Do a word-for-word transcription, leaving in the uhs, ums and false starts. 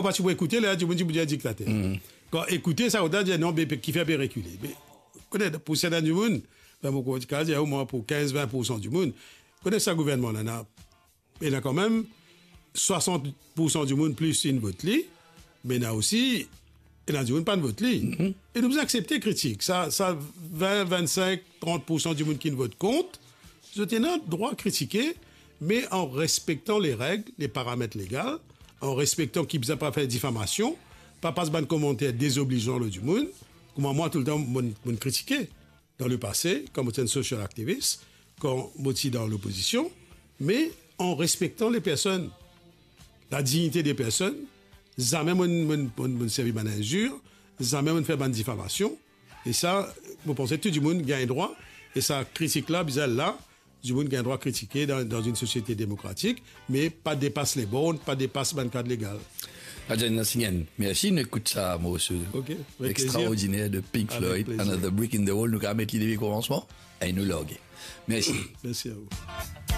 Ou pa ti pou ekoute, la, dimoun ti pou dir diktater. Kan ekoute sa, ou ta dir, "Non, be, kifer pe rekile?" Me, kone, pou sertin dimoun, ben, mo kapav dir, omwin pou kinz, vin poursan dimoun, kone sa gouvernman la, ena, ena kanmem swasant poursan dimoun plis inn vot li, me ena osi, ena dimoun pa'nn vot li. E nou bizin aksepte kritik. Sa, sa vin, vinn-sink, trant poursan dimoun ki'nn vot kont, zot ena drwa kritike, me an respektan le reg, le paramet legal, an respektan ki bizin pa fer difamasion, pa pas bann komanter dezoblizan lor dimoun, kouma mwa toultan mo'nn, mo'nn kritike dan lepase, kan mo ti enn social activist, kan mo ti dan lopozision, me an respektan le personn, la dignite de personn, zame mo'nn, mo'nn, mo'nn, mo'nn servi bann inzir, zame mo'nn fer bann difamasion, e sa, mo panse tou dimoun gagn drwa, e sa kritik la, bizin la, dimoun gagn drwa kritike dan, dan enn sosiete demokratik, me pa depas le born, pa depas bann kad legal. Adrian Nansingen, mersi, nou ekout sa morso. Ok, avek plezir. Extraordiner de Pink Floyd, Another Brick in the Wall, nou kapav met li depi komansman, e nou large. Mersi. Mersi a ou.